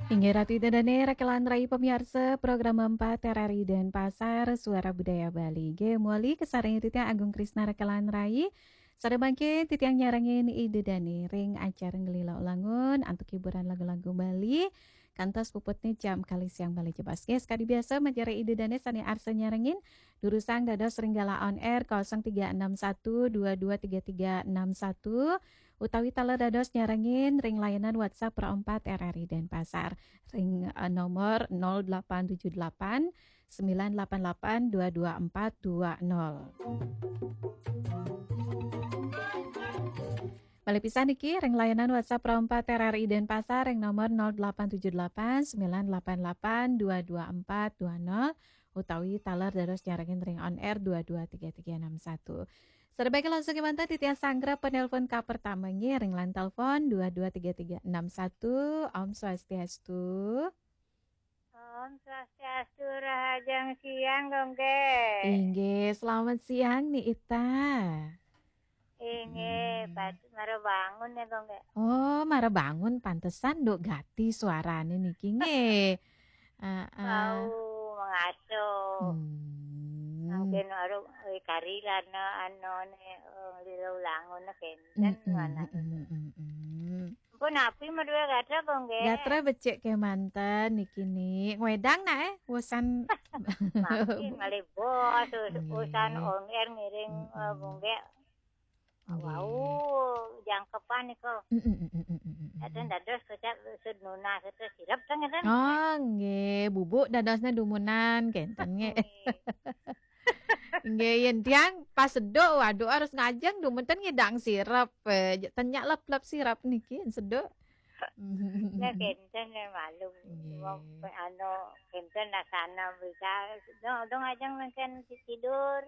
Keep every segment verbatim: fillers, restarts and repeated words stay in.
Inggih Ratu Ida Dane, rekan rai pamiarsa program empat R R I Denpasar, Suara Budaya Bali. Inggih, muli kasarengin titiang Agung Krisna rekan rai. Sada mangkin titiang nyarengin Ida Dane ring acara Ngelila Ulangun antuk hiburan lagu-lagu Bali. Kantos puputne jam kalih siang malih jebos. Inggih, sakadi biasa, majeng ring Ida Dane sane arsa nyarengin, durusang dados ring galah on air kosong tiga enam satu dua dua tiga tiga enam satu, utawi taler dados nyarengin ring layanan WhatsApp Pro empat R R I Denpasar ring, eh, nomor nol delapan tujuh delapan sembilan delapan delapan dua dua empat dua nol. Malih pisan niki ring layanan WhatsApp Pro empat R R I Denpasar ring nomor nol delapan tujuh delapan sembilan delapan delapan dua dua empat dua nol, utawi taler dados nyarengin ring on air dua dua tiga tiga enam satu. Sada mangkin langsung kemanten titiang sanggra penelpon kapertama nggih ring line telepon dua dua tiga tiga enam satu. Om Swastiastu. Om Swastiastu, rahajeng siang, Gongge. Inggih, selamat siang, Ni Ita. Inggih, hmm. Pat-, mara bangun ya, Gongge. Oh, mara bangun, pantesan nduk gati suarane niki, nggih. Heeh. Wau, mengaso. Hmm. Mungkin baru, eh, kari lana, anu, ne, eh, lila ulangun, ne, kenten, hmm, mana. Hmm, hmm, hmm, hmm. Pun api madue gatra, Gongge. Gatra becik kemanten niki, Ni. Ngwedang nak, eh, usan. Makin malih bos, us-, nggih. Usan on air ngiring, eh, mm-mm. Gongge. Nggih. Wau, jangkepan niku. Mm, mm, mm, mm, mm, mm, mm. Kadang dados kecap sud nunas itu sirep kan, kan? Oh, nggih, bubuk dadosnya dumunan, kenten, nggih. Nggih. Nggih, yen tiang pas seduk, waduh, harus ngajeng, dumunten ngidang sirep, eh, tenyak lep-lep sirep niki, seduk. Ya, kenten ya, maklum. Nggih. Wong, anu, kenten nasana bisa, dong, dong ajeng mengken tidur.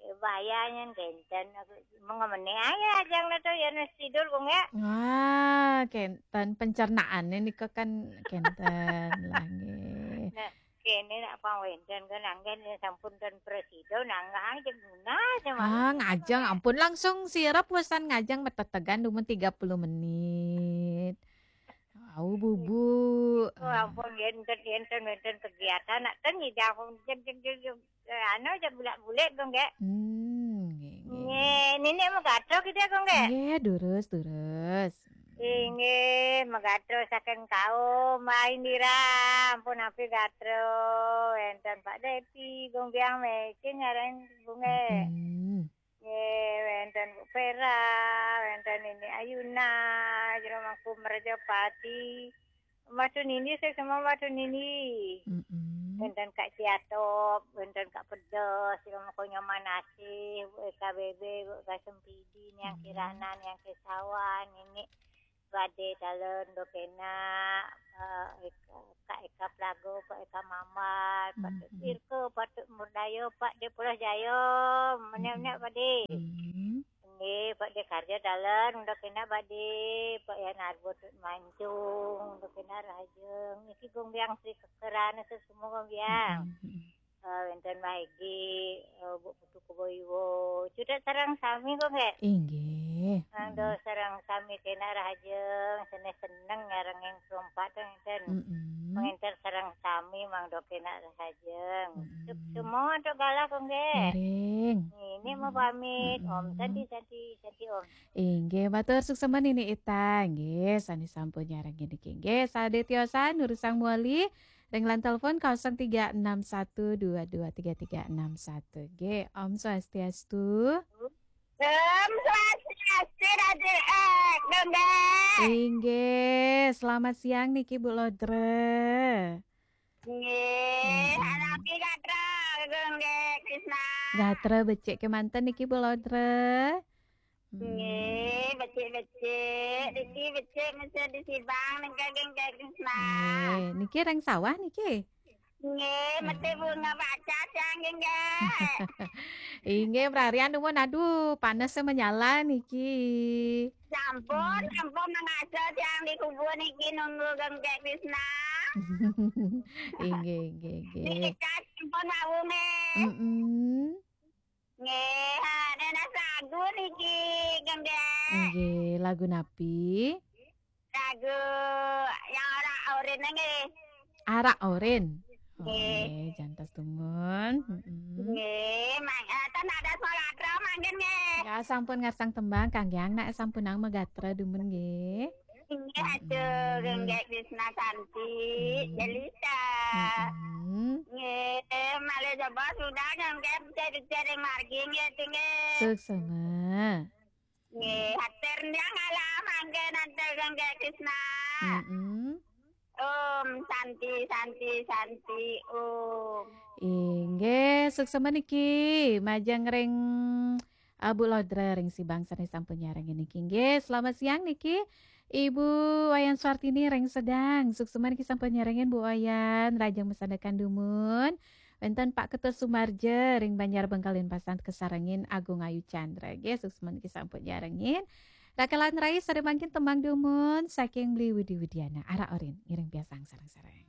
Eh, bahayanya kenten, aku mengemene aja ajeng na to, ya, nus tidur, Bung, ya. Ah, kenten, pencernaannya nika kan kenten lah, nggih. Nah, kene nak pang wenten kan anggen ya sampun ten presido nanggah aja guna aja. Ah, maksudnya ngajeng, kan, ampun langsung sirep pesan ngajeng metetegan dumun tiga puluh menit. Au, Bubu. Oh, ampun, enten, enten, enten kegiatan nak ten nyidang, enten, enten, enten, eh, anu aja bulak-bulik, Gongge. Hmm, nggih, nggih. Nggih, nini mau gato kita, Gongge. Nggih, durus, durus. Inggih, megatro saking kaum, Mbak Indira, ampun api gatro, wenten Pak Depi, Gong Biang Mekin, ngarang bunge. Mm-mm. Nggih, wenten Bu Vera, wenten Nini Ayuna, Jero Mangku Merjapati, Madu Nini, saya semua Madu Nini. Mm-mm. Wenten Kak Siatop, wenten Kak Pedes, Jero Mangku Nyoman Asih, Bu Eka Bebe, Bu Eka Sempidi, Niang Kirana, Niang Kesawan, Nini Bade Talon, Dokena, eh, Eka, Kak Eka Plago, Kak Eka Mambal, Patut Sirko, Patut Murdayo, Pak De Pulau Jayo, menek-menek Bade. Nggih, Pak De Karja Talon, Dokena Bade, Pak Yan Arbo Tut Mancung, Dokena Rahajeng, niki Gong Biang Sri Kekerana semua Gong Biang. Eh, wenten Maigi, eh, Bu Putu Kuboiwo. Cudak sareng sami, Gong, nggih? Inggih. Mangdo sareng sami kena rahajeng, seneng-seneng nyarengin kelompok ten, ten. Mm-mm. Pengenter sareng sami mangdo kena rahajeng. Mm-mm. Sup-, semua untuk galah, Gong, nggih? Miring. Ini mau pamit, Om. Mm-mm. Santi, Santi, Santi, Om. Inggih, matur suksma Nini Ita. Nggih, sane sampun nyarengin niki. Nggih, sadetiosan durusang muli ring line telepon kosong tiga enam satu dua dua tiga tiga enam satu. Nggih, Om Swastiastu. Om Swastiastu, Ratu Ek, Gongge. Inggih, selamat siang niki, Bu Lodre. Nggih, mm-mm. Harapi gatra, Gongge Krisna. Gatra becik kemanten niki, Bu Lodre. Hmm. Nggih, becik-becik. Diki becik mesti disibang nengke geng Krisna. Nggih, niki ring sawah niki? Nggih, mesti bunga baca tiang nggih. Inggih, prarian dumun, aduh, panas menyala niki. Sampun, hmm, sampun mangasa tiang di kubur niki nunggu geng Krisna. Inggih, inggih, inggih. Niki sampun wau nggih. Mm-mm. Nggih, ha, nenas lagu niki, Geng Dek. Nggih, lagu napi? Lagu yang ora, Catherine nggih. Arak orin. Nggih. Oke, jantos dumun. Mm-mm. Nggih, mang eh, ten ada sekolah atra mangkin nggih. Ya sampun ngarsang tembang kangge anak sampunang magatra dumun nggih. Nggih aduh nggih Krisna Santi, Jelita. Mm-mm. Nggih, malih coba sudah nggih cari-cari margi nggih nggih. Suksma. Nggih, hatur nyang alam mangke nanti nggih Krisna. Mm-mm. Om Santi Santi Santi Om. Inggih, suksma niki majeng ring uh, Bu Lodra ring Sibang sane sampun nyarengin niki. Inggih, selamat siang niki. Ibu Wayan Suartini ring Sedang. Suksma niki sampun nyarengin Bu Wayan, rajeng masandekan dumun. Wenten Pak Ketut Sumarja ring Banjar Bengkalin Pasan kasarengin Agung Ayu Chandra. Nggih, suksma niki sampun nyarengin. Rakalan rai sare mangkin tembang dumun saking Beli Widi Widiana. Arak orin ngiring piasang sareng-sareng.